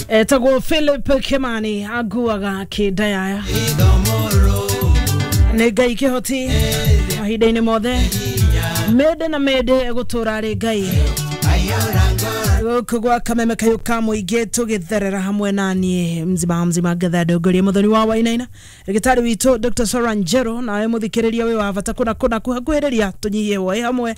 Etagwo Philip Kimani aguaga kĩndayaya nĩ Ngai kĩhoti mahinda-inĩ mothe, mĩndĩ na mĩndĩ egũtũra arĩ Ngai. Gũkũ gwa Kameme kayũ ka mũingĩ tũgĩtherera hamwe na niĩ mzima mzima ngetha ndongoria mũthoni wa Wainaina, ndagĩtarĩ witũ Dr. Sora Njero, nawe mũthikĩrĩria wĩ wa bata kũna kũna kuhakuhĩrĩria tũnyihie hwaĩ hamwe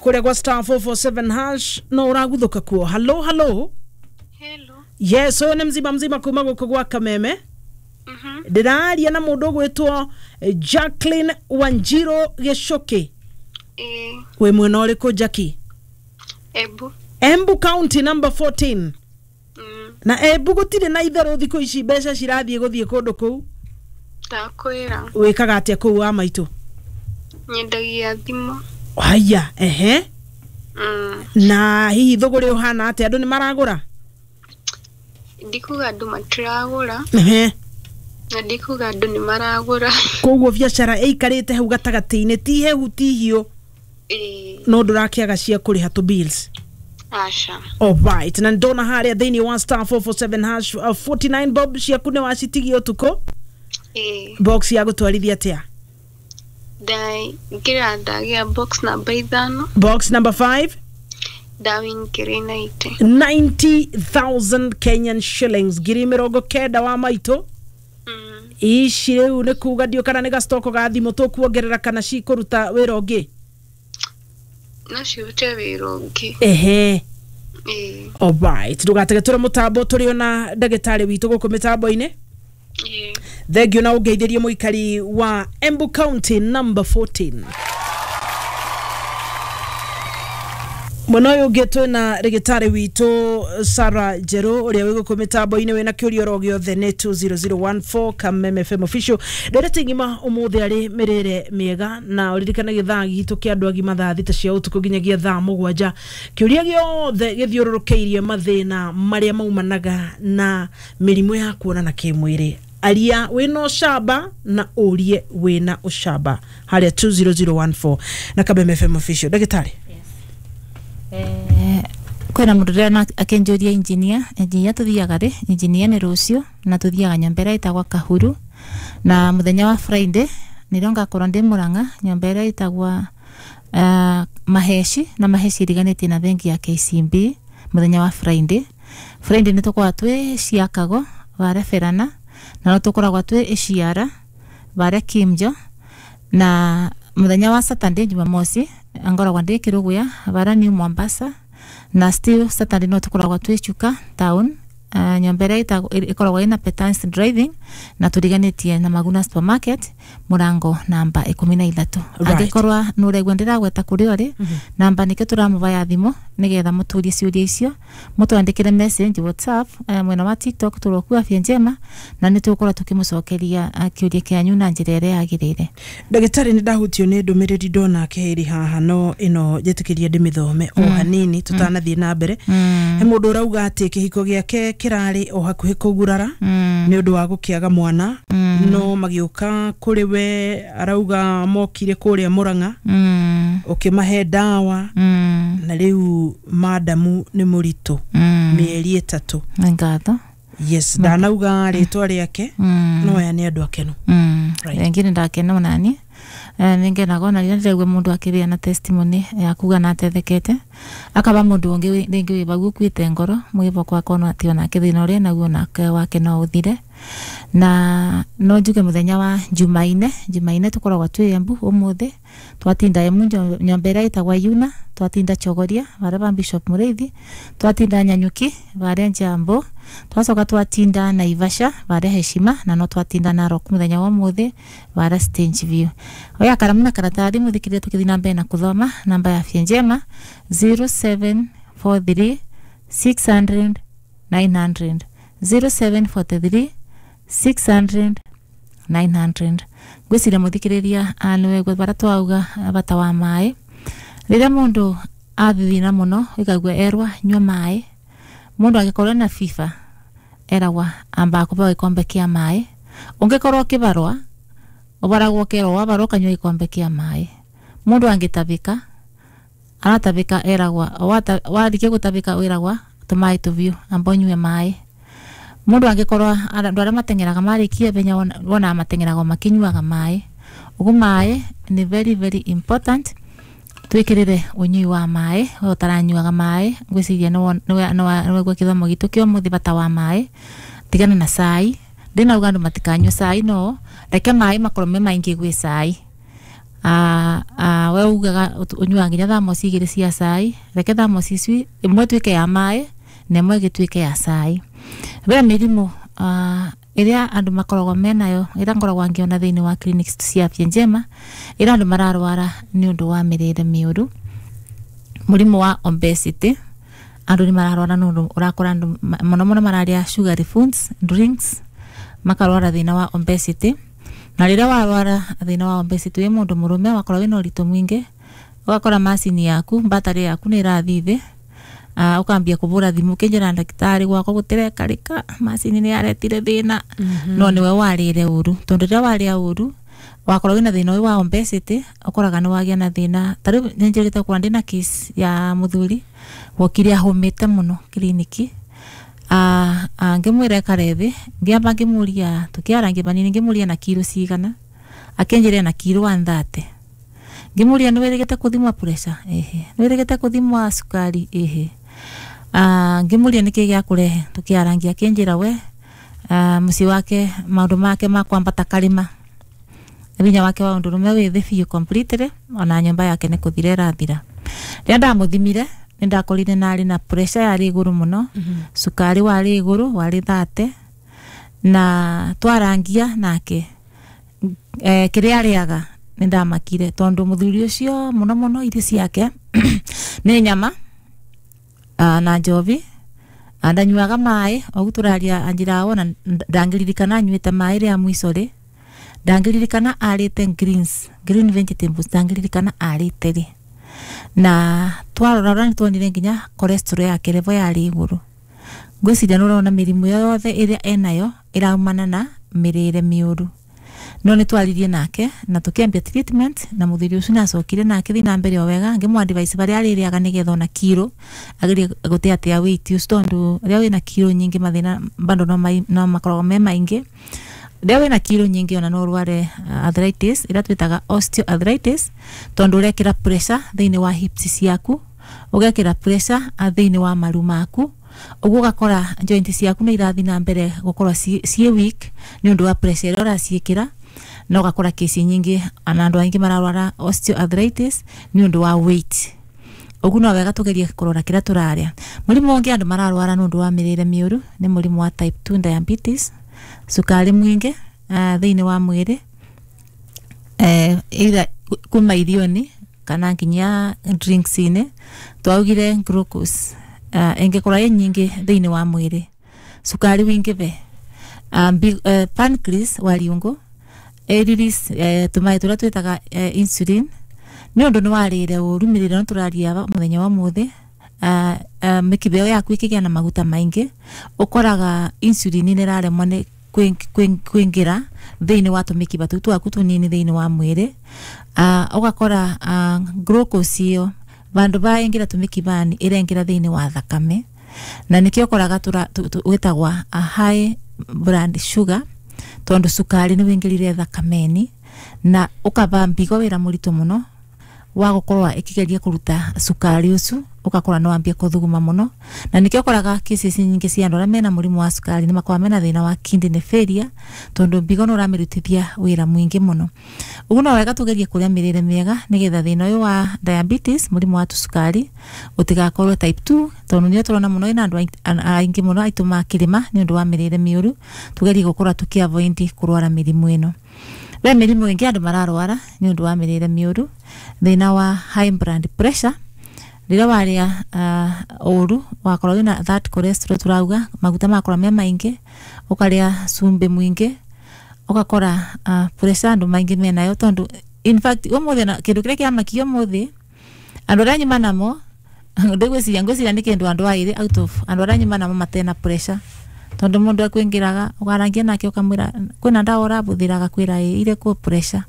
kũrĩa gwa *447# no ũraguthũka kuo. Halo halo. Hello. Yes, ũyũ nĩ mzima mzima kuma gũkũ gwa Kameme. Ndĩraria na mũndũ ũgwĩtwo Jacqueline Wanjiro Gĩcũkĩ. Eh, wĩ mwena ũrĩkũ, Jackie? Ebu. Embu County number 14. Na Embu gũtirĩ na itherũ thikũ ici, mbeca cirathiĩ gũthiĩ kũndũ kũu. Ndakwĩra. Wĩkaga atĩa kũu wa maitũ? Nyendagia thimũ. Haya, ehe. Na hihi thũgũrĩ ũhana atĩa, andũ nĩ maragũra? Ndikuga andũ matiragũra. Ehe. Na ndikuga andũ nĩ maragũra. Koguo biacara ĩikarĩte hau gatagatĩ-inĩ, ti hehu ti hiũ? Ĩĩ. No ndũrakĩaga cia kũrĩha tũ bills? Aca. Alright, na ndona harĩa thĩinĩ wa *447# 49 bob ciaku nĩ wacitigia ũtukũ. Ĩĩ. Box ya gũtwarithia atĩa? Ndaingĩra ndagĩa box namba 5. Box number 5. Ndawingĩrĩ 90. 90,000 Kenyan shillings, 90,000 wa maitũ. Ici rĩu nĩ kuga ndio kana nĩ gacitoko ga thimũ tũkuongerera kana cikũruta wĩra ũngĩ? No cirute wĩra ũngĩ. Ehe. Ĩĩ. Alright, ndũgatege tũrĩ mũtambo, tũrĩ ona ndagĩtarĩ witũ gũkũ mĩtambo-inĩ. Ĩĩ. Thengiũ na ũngeithĩrie mũikari wa Embu County number 14. Mwena ũyũ ũngĩ twĩna rĩgĩtarĩ witũ Sarah Njerũ ũrĩa wĩ gũkũ mĩtambo-inĩ, wĩna kĩũria oro gĩothe nĩ 20014 Kameme FM official. Ndereti ng'ima ũmũthĩ arĩ mĩrĩre mĩega, na ũririkane gĩthaa gitũ kĩa andũ agima thaa 6 cia ũtukũ nginyagia thaa 7. Kĩũria gĩothe gĩthiũrũrũkĩirie mathĩna marĩa maumanaga na mĩrimũ ya kuonana kĩmwĩrĩ, aria wĩna ũcamba na ũrie wĩna ũcamba harĩa 20014 na Kameme FM official. Ndagĩtarĩ. Kwĩna mũndũ ndĩrona akĩnjũria engineer, engineer tũthiaga rĩ? Engineer nĩ rũciũ na tũthiaga nyũmba ĩrĩa ĩtagwa Kahuru, na mũthenya wa Friday nĩrĩo ngakorwo ndĩ Mũrang'a nyũmba ĩrĩa ĩtagwa Maheci, na Maheci ĩriganĩtie na bengi ya KCB mũthenya wa Friday. Friday nĩ tũkoragwo twĩ Ciakago varia Berana, na no tũkoragwo twĩ Iciara varia Kimjo, na mũthenya wa Saturday Jumamosi ngoragwo ndĩ Kĩrũgũya varia New Mombasa, na still Saturday no tũkoragwo twĩ Chuka town, nyũmba ĩrĩa ĩkoragwo ĩna Petans Driving na tũriganĩtie na Maguna Supermarket mũrango namba 13. Angĩkorwo nĩ ũraigua ndĩragweta kũrĩa ũrĩ, namba nĩkĩo tũramũbaya thimũ nĩgetha mũtũrie ciũria icio, mũtwandĩkĩre message WhatsApp, mwena wa TikTok tũrokua Afya Njema, na nĩ tũgũkorwo tũkĩmũcokeria kĩũria kĩanyu na njĩra ĩrĩa yagĩrĩire. Ndagĩtarĩ, nĩ ndahutio nĩ ndũmĩrĩri ndona kĩhĩri haha, no ĩno njĩtĩkĩria ndĩmĩthome o hanini tũtanathiĩ na mbere. He mũndũ ũrauga atĩ kĩhiko gĩake kĩrarĩ o hakuhĩ kũgurara nĩ ũndũ wa gũkĩaga mwana, no magĩũka kũrĩ we, arauga mokire kũrĩa Mũrang'a, ũkĩmahe ndawa, na rĩu madamu nĩ mũritũ mĩeri 3. Nĩ ngatho. Yes, ndanauga rĩtwa rĩake, no aya nĩ andũ akenu. Right. Rĩngĩ nĩ ndakena onani, nĩ ngenaga ona rĩrĩa ndĩraigua mũndũ akĩgĩa na testimony ya kuga na atethekete, akaba mũndũ ũngĩ rĩngĩ wĩ bau ũkuĩte ngoro mwĩboko akona atĩ onake thĩna ũrĩa naguo onake wake no ũthire. Na no njuge mũthenya wa Jumaine, Jumaine tũkoragwo twĩ Embu, ũmũthĩ twatinda Embu nyũmba ĩrĩa ĩtagwa Yuna, twatinda Chogoria varia ba Bishop Mũrĩithi, twatinda Nyanyuki varia Njambo, twacoka twatinda Naivasha varia Heshima, na no twatinda Narok mũthenya wa ũmũthĩ varia Stage View. Oya karamu na karatathi mũthikĩrĩrie tũkĩthiĩ na mbere na kũthoma namba ya Afya Njema 0743 600 900, 0743 600 900. Ngwĩciria mũthikĩrĩria nĩwegua baria twauga bata wa maĩ. Rĩrĩa mũndũ athithina mũno ĩkaigua erwa nyua maĩ, mũndũ angĩkorwo na fever eragwa amba kũbeo gĩkombe kĩa maĩ, ũngĩkorwo ũkĩbarwa ũbaragwo ũkerwo wabarwa ũkanyua gĩkombe kĩa maĩ, mũndũ angĩtabĩka aratabĩka eragwa warikia gũtabĩka wĩragwa Tumaĩ tũbiũ, amba ũnyue maĩ. Mũndũ angĩkorwo andũ arĩa mateng'eraga marĩkia ihenya wonaga mateng'eraga o makĩnyuaga maĩ. Ũguo maĩ nĩ very very important, twĩkĩrĩre ũnyui wa maĩ. We ũtaranyuaga maĩ, ngwĩciria nĩwaigua gĩthomo gitũ kĩa ũmũthĩ, bata wa maĩ. Tigana na cai. Ndinauga andũ matikanyue cai, no reke maĩ makorwo me maingĩ gwĩ cai. We ugaga ũnyuaga nginya thamosi 2 cia cai, reke thamosi ici ĩmwe ĩtuĩke ya maĩ na ĩmwe ĩgĩtuĩke ya cai. Ve mĩrimũ ĩrĩa andũ makoragwo menayo, ĩrĩa ngoragwo ngĩona thĩinĩ wa clinics cia Afya Njema, ĩrĩa andũ mararwara nĩ ũndũ wa mĩrĩre mĩũru. Mũrimũ wa obesity, andũ nĩ mararwara nĩ ũndũ ũrakora andũ mũno mũno mararĩa sugary foods, drinks, makarwara thĩna wa obesity. Na rĩrĩa warwara thĩna wa obesity wĩ mũndũ mũrũme, wakorwo wĩna ũritũ mũingĩ, ũgakora macini yaku, battery yaku nĩ ĩrathiĩ thĩ. Ũkambia kũbũra thimũ ũkĩnjĩra ndagĩtarĩ gwakwa gũtirekarĩka, macini nĩ yaretire thĩna. No nĩwe warĩre ũru, tondũ rĩrĩa warĩa ũru wakorwo wĩna thĩna ũyũ wa obesity, ũkoraga nĩ wagĩa na thĩna. Ta rĩu nĩ njĩrĩte gũkorwo ndĩna case ya mũthuri wokire ahũmĩte mũno kiriniki. Ngĩmwĩra ekare thĩ, ngĩamba ngĩmũria, tũkĩarangia banini, ngĩmũria na kiro cigana, akĩnjĩra na kiro 130. Ngĩmũria nĩ wĩrĩgĩte kũthimwo pressure? Ĩhĩ. Nĩ wĩrĩgĩte kũthimwo cukari? Ĩhĩ. Ngĩmũria nĩkĩ gĩakũrehe, tũkĩarangia, akĩnjĩra we mũciĩ wake maũndũ make ma kwambata karĩma, hinya wake wa ũndũrũme wĩ thĩ biũ completely, ona nyũmba yake nĩ kũthira ĩrathira. Rĩrĩa ndamũthimire nĩ ndakorire narĩ na pressure yarĩ igũrũ mũno, cukari warĩ igũrũ, warĩ 30, na twarangia nake kĩrĩa arĩaga nĩ ndamakire, tondũ mũthuri ũcio mũno mũno irio ciake nĩ nyama na njobi, ndanyuaga maĩ. Ũguo tũraria anjĩraga wona ndangĩririkana anyuĩte maĩ rĩa mũico rĩ, ndangĩririkana arĩte greens, green vegetables, ndangĩririkana arĩte rĩ. Na twarora nĩ tuonire nginya cholesterol yake level yarĩ igũrũ. Ngwĩciria nĩ ũrona mĩrimũ yothe ĩrĩa enayo ĩraumana na mĩrĩre mĩũru. No nĩ twaririe nake na tũkĩambia treatment, na mũthuri ũcio nĩacokire na akĩthiĩ na mbere o wega. Ngĩmũ advise barĩa arĩrĩaga nĩgetha ona kiro agerie gũteatea weight ũcio, tondũ rĩrĩa wĩna kiro nyingĩ mathĩna bado no makoragwo me maingĩ. Rĩrĩa wĩna kiro nyingĩ ona no ũrware arthritis ĩrĩa twĩtaga osteoarthritis, tondũ ũrekĩra pressure thĩinĩ wa hips ciaku, ũgekĩra pressure thĩinĩ wa maru maku, ũguo ũgakora joint ciaku nĩ irathiĩ na mbere gũkorwo ciĩ weak nĩ ũndũ wa pressure ĩrĩa ũraciĩkĩra, na ũgakora kesi nyingĩ na andũ aingĩ mararwara osteoarthritis nĩ ũndũ wa weight. Ũguo no wega tũgerie kũrora kĩrĩa tũrarĩa. Mũrimũ ũngĩ andũ mararwara nĩ ũndũ wa mĩrĩre mĩũru nĩ mũrimũ wa type 2 diabetes, cukari mũingĩ thĩinĩ wa mwĩrĩ, either kuma irio-inĩ kana nginya drinks-inĩ. Twaugire glucose ĩngĩkorwo ĩ nyingĩ thĩinĩ wa mwĩrĩ, cukari wingĩve, pancreas wa riũngũ ĩrelease tũmaĩ tũrĩa twĩtaga insulin, nĩ ũndũ nĩ warĩre ũru. Mĩrĩre no tũraria mũthenya wa ũmũthĩ, mĩkiha ĩyo yaku ĩkĩgĩa na maguta maingĩ, ũkoraga insulin nĩ ĩraremwo nĩ kũingĩra thĩinĩ wa tũmĩkiba tũu twaku tũnini thĩinĩ wa mwĩrĩ. Ũgakora glucose ĩyo vandũ va ĩngĩra tũmĩkibani ĩrengĩra thĩinĩ wa thakame, na nĩkĩo ũkoraga wĩtagwa high blood sugar, tondũ cukari nĩ wĩingĩrire thakameni na ũkaba mbigo wĩra mũritũ mũno wa gũkorwo ĩkĩgeria kũruta cukari ũcio, ũgakora nĩ wambia kũthuguma mũno. Na nĩkĩo ũkoraga cases nyingĩ cia andũ arĩa mena mũrimũ wa cukari nĩ makoragwo mena thĩna wa kidney failure, tondũ mbigo nĩ ũramĩrutithia wĩra mũingĩ mũno. Ũguo no wega tũgerie kũrĩa mĩrĩre mĩega nĩgetha thĩna ũyũ wa diabetes, mũrimũ wa cukari, ũtigakorwo type 2, tondũ nĩyo tũrona mũno ĩna andũ aingĩ mũno aitũ makĩrĩma nĩ ũndũ wa mĩrĩre mĩũru. Tũgerie gũkorwo tũkĩ avoid kũrwara mĩrimũ ĩno. Ve mĩrimũ ĩngĩ andũ mararwara nĩ ũndũ wa mĩrĩre mĩũru, thĩna wa high blood pressure. Rĩrĩa warĩa ũru, wakorwo wĩna that cholesterol tũrauga, maguta makorwo me maingĩ, ũkarĩa cumbĩ mũingĩ, ũgakora pressure andũ maingĩ menayo, tondũ in fact ũmũthĩ na kĩndũ kĩrĩa kĩamakia ũmũthĩ andũ arĩa nyuma namo, ndĩgwĩciria, ngwĩciria nĩ kĩndũ andũ aĩrĩ out of andũ arĩa nyuma namo matena pressure, tondũ mũndũ akwĩngĩraga ũkarangia nake ũkamwĩra kwĩna ndawa ũrabũthĩra, agakwĩra ĩ irĩkũ pressure,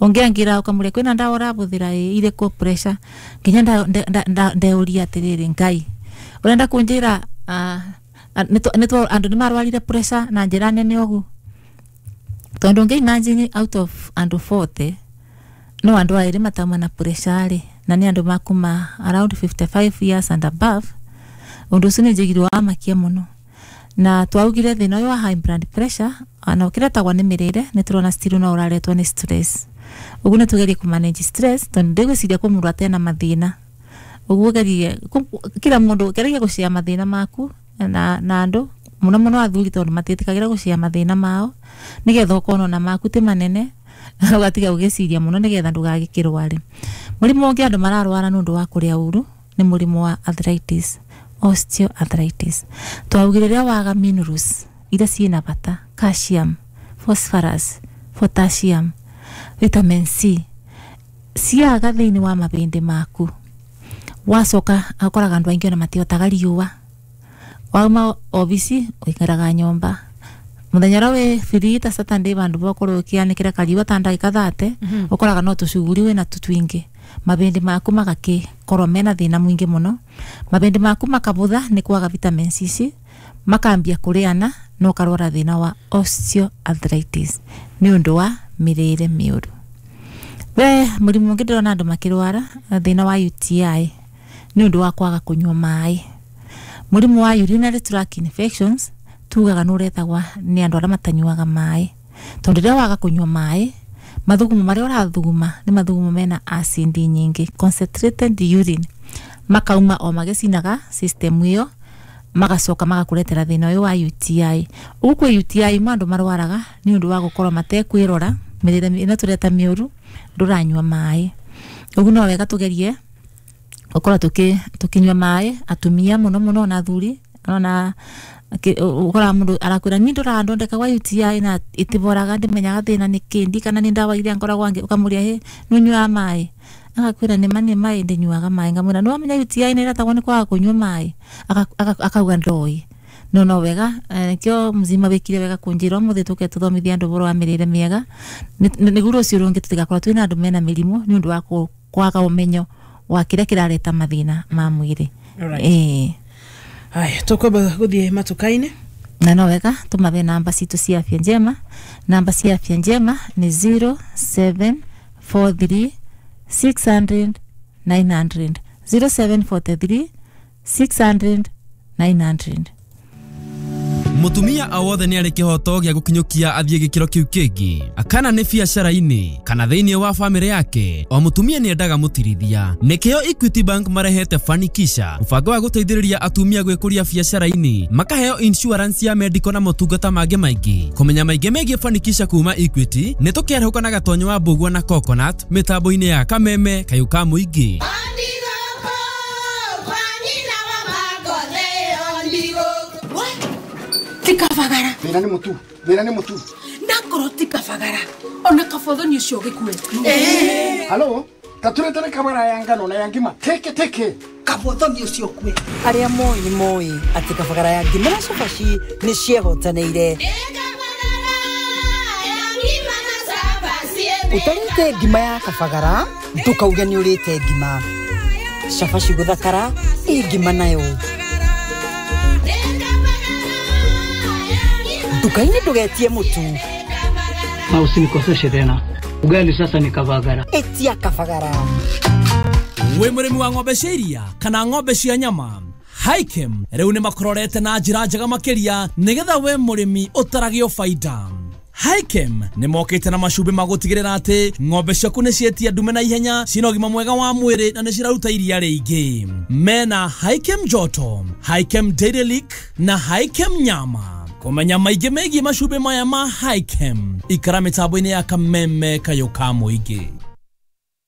ũngĩangĩra ũkamũria kwĩna ndawa ũrabũthĩra, ĩ irĩkũ pressure, nginya ndeũria atĩrĩrĩ, Ngai Urenda kunjira nitwo andu ni marwarire pressure na njira nene ogu tondu ngi imagine out of andu 40 no andu airi matauma na pressure ri na ni andu makuma around 55 years and above. Undu ucio ni njigirwo wa makia muno na twaugire thina uyu wa high blood pressure ana ukiretagwa ni mirire ni turona still no uraretwo ni stress. Uguo ni tugerie ku manage stress tondu ndigwiciria ku mundu atena mathina. Uguo gerie kila mundu geria gucia mathina maku na andu muno muno athuri tondu matiitikagira gucia mathina mao nigetha ukorwo na maku ti manene ugatiga ugiciria muno nigetha ndugagikirware. Murimu ungi andu mararwara nundu wa kuria uru ni murimu wa arthritis, osteoarthritis. Twaugire riria waga minerals iria ciina bata, calcium, phosphorus, potassium, vitamin C ciaga thiini wa mabindi maku wacoka akoraga andu aingi ona matihotaga riua. Wauma obici uikaraga nyomba muthenya uria wi free ta Saturday bandu bokorwo ukianikira kariua ta ndagika 30 ukoraga no tucuguri wina tu twingi mabindi maku magakikorwo mena thina mwingi muno. Mabindi maku makabutha ni kwaga vitamin C makambia kuriana no karwara thina wa osteoarthritis ni undu wa mirire miuru. We murimu ungi ndirona andu makirwara thina wa UTI ni undu wa kwaga kunyua mai. Murimu wa urinary tract infections tugaga nuretagwa ni andu aria matanyuaga mai tondu riria waga kunyua mai mathugumo maria urathuguma ni mathugumo mena acid nyingi, concentrated urine, makauma o magicinaga system iyo magacoka magakuretera thina uyu wa UTI. Ugu kwi UTI mandu marwaraga ni undu wa gukorwo matekwirora mirire ino tureta miuru nduranyua mai. Ugu no wega tugerie ukorwo tukinyua mai atumia muno muno na athuri ona ukora mundu arakwira ni ndurandondeka wa UTI na itiboraga ndimenyaga thina ni kindi kana ni ndawa iria ngoragwo angi ukamuria he nunyua mai agakwira ni mani mai ndinyuaga mai ngamwira no amenya UTI ni iretagwo ni kwaga kunyua mai akauga ndoi no no wega nikio mzima wikire wega kunjira umuthi tuke tuthomithia andu boro wa mirire miega niguo rucio rungi tutigakorwo twina andu mena mirimu ni undu wa kwaga umenyo wa kiria kirareta mathina ma mwiri. Haya tukwamba guthie matukaini na no wega tumabe namba citu cia afya njema. Namba cia afya njema ni 0743 600 900, 0743 600 900. Mutumia awothe ni ari kihoto gia gukinyukia athie gikiro kiu kingi akana ni biacara-ini kana thiini wa family yake. O mutumia ni endaga mutirithia nikio Equity Bank marehete Fanikisha mubango wa guteithiriria atumia gwikuria biacara-ini makaheo insurance ya medical na motungata mangi maingi. Kumenya maingi megie Fanikisha kuma Equity ni tukiarhuka na gatonyo wa mbugua na coconut mitambo-ini ya Kameme kayu ka muingi. Tikafagara. Thina ni mutu. Thina ni mutu. Ndakoro tikafagara. Ona kafotho ni ucio gikue. Halo, taturetere kamera ya ngano na ya ngima. Teke teke. Kafotho ni ucio kue. Aria moi ni moi ati kafagara ya ngima na cabaci ni ciehotanĩire. Utarĩte ngima ya kabagara ndukauge ni urĩte ngima. Cabaci guthakara ĩ ngima nayo. Nduka-inĩ ndũgetie mũtu. Na usinikoseshe tena. Ugali sasa ni kabagara. Etia kabagara. We mũrĩmi wa ng'ombe cia iria kana ng'ombe cia nyama, Hikem rĩu nĩ makororete na njĩra njega makĩria nĩgetha we mũrĩmi ũtaragio baida. Hikem nĩ mokĩte na macumbĩ ma gũtigĩrĩra atĩ ng'ombe ciaku nĩ cietia ndume na ihenya, cina ũgima mwega wa mwĩrĩ na nĩ ciraruta iria rĩingĩ. Mena Hikem Joto, Hikem Dairy Lick na Hikem Nyama. Kumenya maingĩ megiĩ macumbĩ maya ma Hikem, ikara mĩtambo-inĩ ya Kameme kayũ ka mũingĩ.